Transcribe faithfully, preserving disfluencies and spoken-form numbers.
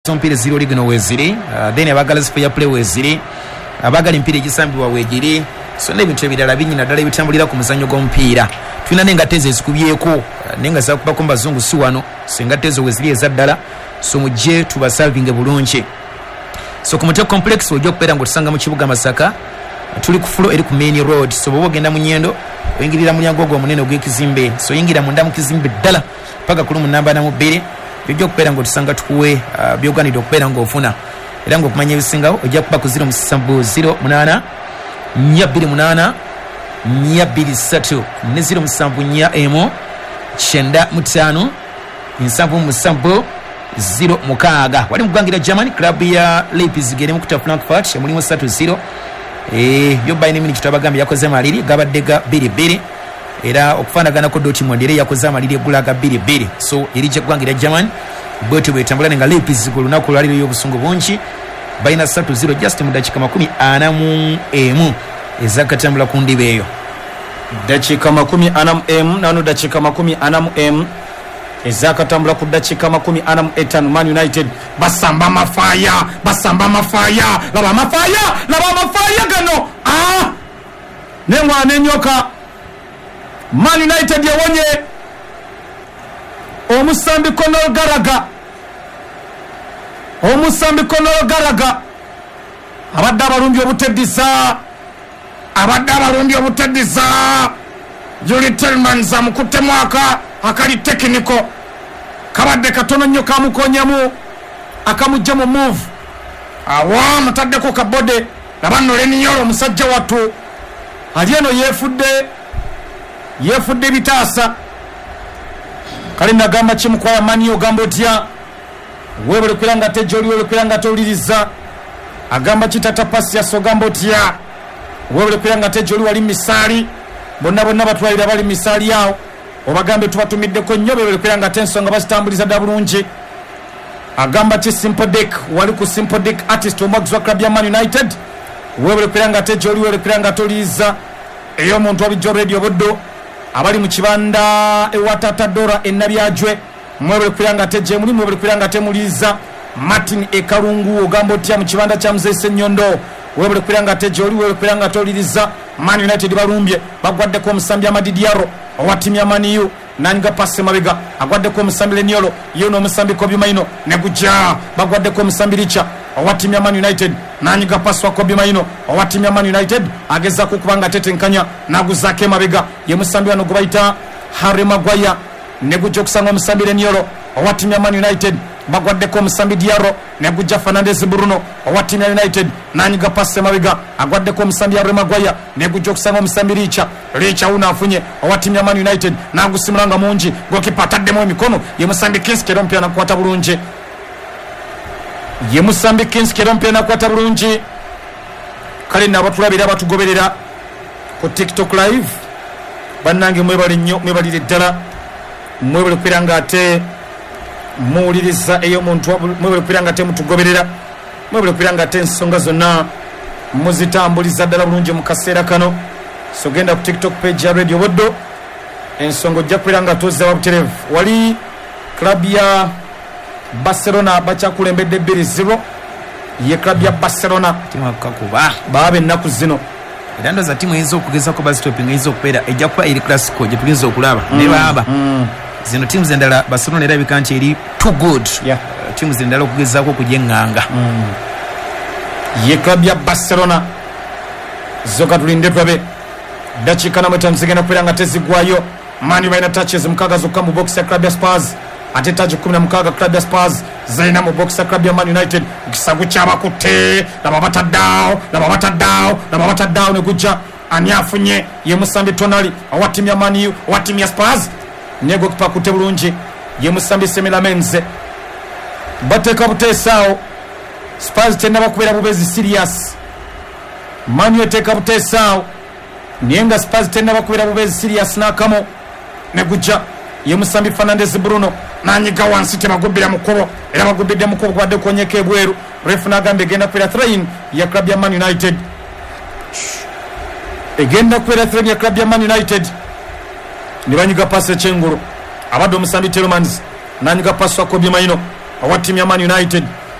Omupiira ziri oligino weziri, uh, then abagala fair play weziri, abagala empiira egisambibwa wegiri, so n'ebintu ebirala bingi naddala ebitambulira ku muzannyo gw'omupiira. Tulina n'engatto ezo ezikubyeko, uh, naye nga zakubako mu bazungu si wano, so engatto ezo weziri eza ddala, so mujje tubasavinge bulungi. So ku Mutego Complex ojja okubeera ng'otusanga mu kibuga Masaka, tuli ku floor eri ku main road. So bw'oba ogenda mu Nyendo oyingirira mulyango ogwo omunene ogw'ekizimbe, so oyingira munda mu kizimbe ddala paka ku lumu namba na mu bbiri, ojja okubeera ng'otusanga tukuwe uh, by'oganidde okubeera ng'ofuna. Era ng'okumanya ebisingawo ojja kuba ku ziro musanvu ziro munaana nnya bbiri munaana nnya bbiri ssatu ne ziro musanvu nnya emu kyenda mu ttaano nsanvu mu musanvu ziro mukaaga. Wali mu ggwanga lya Germany, club ya Leipzig eri mu kuta Frankfurt emulimu ssatu ziro. Eh, yo Bayern Munich twabagambye yakoze amaliri gabadde ga bbiri bbiri, era okufaanaganako Dortmund era yakoze amaliri eggula ga bbiri bbiri. So eri gyeggwanga lya Germany bwetyo bwetambula, nga Leipzig olunaku olwaliro y'obusungu bungi balina ssatu ziro just mu dakiika makumi ana mu emu ezakatambula ku ndiba eyo. Dakiika makumi ana mu emu nano dakiika makumi ana mu emu ezakatambula ku dakiika makumi ana mu etaano. Man United basamba amafaaya, basamba amafaaya, laba amafaaya, laba amafaaya gano, ah, n'engwana enyoka. Man United yawonye omusambi Conor Gallagher, omusambi Conor Gallagher abadde abalungi obuteddiza, abadde abalungi obuteddiza. Yuri Tielemans amukuttemu aka akali tekiniko kabadde katono nnyo kamukonyamu akamujja mu move awa mutaddeko kabode. Laba nno Leniolo omusajja wattu ali eno yeefudde yeefudde ebitaasa. Kale nagamba kimukwaya mani ogamba otya weebale kubeera nga ate gy'oli, weebale kubeera nga towuliriza. Agamba kitata Pasias ogamba otya weebale kubeera nga ate gy'oli, wali misaali bonna bonna batwalira bali misaali awo obagambe tubatumiddeko nnyo, beebale kubeera nga ate ensonga bazitambuliza dda bulungi. Agamba ki Simple Dick, wali ku Simple Dick artist omwagizi wa club ya Man United, weebale kubeera nga ate gy'oli, weebale kubeera nga toliiza ey'omuntu wabijjo Radio Buddo abali mu kibanda ewa Tata Dora e Nabyajwe, mwebale kubeera nga ate gye muli, mwebale kubeera nga ate muliiza. Martin Ekalungu ogamba otya mu kibanda kya Mzee Ssenyondo, weebale kubeera nga ate gy'oli, weebale kubeera nga toliriza. Man United balumbye bagwaddeko omusambi Amadi Diallo owa ttiimu ya Man U nanyiga pasi mabega, agwaddeko omusambi Leniolo ye n'omusambi Kobbie Mainoo ne gujja, bagwaddeko omusambi Richa owa ttiimu ya Man United nanyiga pasi wa Kobbie Mainoo owa ttiimu ya Man United agezaako okuba nga atetenkanya n'aguzaako emabega, ye musambi wano gwe bayita Harry Maguire ne gujja okusanga omusambi Leniolo owa ttiimu ya Man United, bagwaddeko omusambi Diallo ne gujja Fernandes Bruno owa ttiimu ya United nanyiga pasi emabega, agwaddeko omusambi Harry Maguire ne gujja okusanga omusambi Richa, Richa wuno afunye owa ttiimu ya Man United n'agusimula nga mungi, gokipa ataddemu emikono ye musambi Kinski era omupiira nakukwata bulungi, ye musambi Kinski era omupiira nakukwata bulungi. Kale nno abatulabira abatugoberera ku TikTok live bannange mwebale nnyo, mwebalire ddala, mwebale kubeera nga ate muwuliriza ey'omuntu, mwebale kubeera nga ate mutugoberera, mwebale kubeera nga ate ensonga zonna muzitambuliza ddala bulungi mu kaseera kano. So genda ku TikTok page ya Radio Buddo ensonga ojja kubeera nga tozza butereevu. Wali club ya Barcelona bakyakulembedde bbiri ziro, ye club ya Barcelona timu kakuba baaba ennaku zino era ndowooza ttiimu eyinza okugezako bazitopinga eyinza okubeera ejja kuba eri Clasico gye tuyinza okulaba ne baaba zino ttiimu zendala. Barcelona erabika nti eri too good Yeah. Uh, ttiimu zendala okugezaako okugyeŋŋanga. Ye club ya Barcelona zo katulinde tulabe. Dakiika namu etaano zigenda kubeera nga tezigwayo. Man U balina touches mukaaga zokka mu box ya club ya Spurs, ate touch kumi na mukaaga club ya Spurs zalina mu box ya club ya Man United. Ekisago kyabakutte, laba bataddeawo, laba bataddeawo, laba bataddeawo ne gujja ani afunye ye musambi Tonali owa ttiimu ya Man U owa ttiimu ya Spurs ne gokipa akutte bulungi ye musambi Senne Lammens. Bateeka buteesaawo, Spurs tennaba kubeera bubeezi serious. Man U eteeka buteesaawo naye nga Spurs tennaba kubeera bubeezi serious n'akamu ne gujja ye musambi Fernandes Bruno nanyiga wansi tebagubbira mu kkubo era bagubbidde mu kkubo kubadde konyeko ebweru. Ref n'agamba egenda kubeera throw-in ya club ya Man United, egenda kubeera throw-in ya club ya Man United. Ne banyiga pasi ekyengulu abadde omusambi Tielemans nanyiga pasi wa Kobbie Mainoo owa ttiimu ya Man United.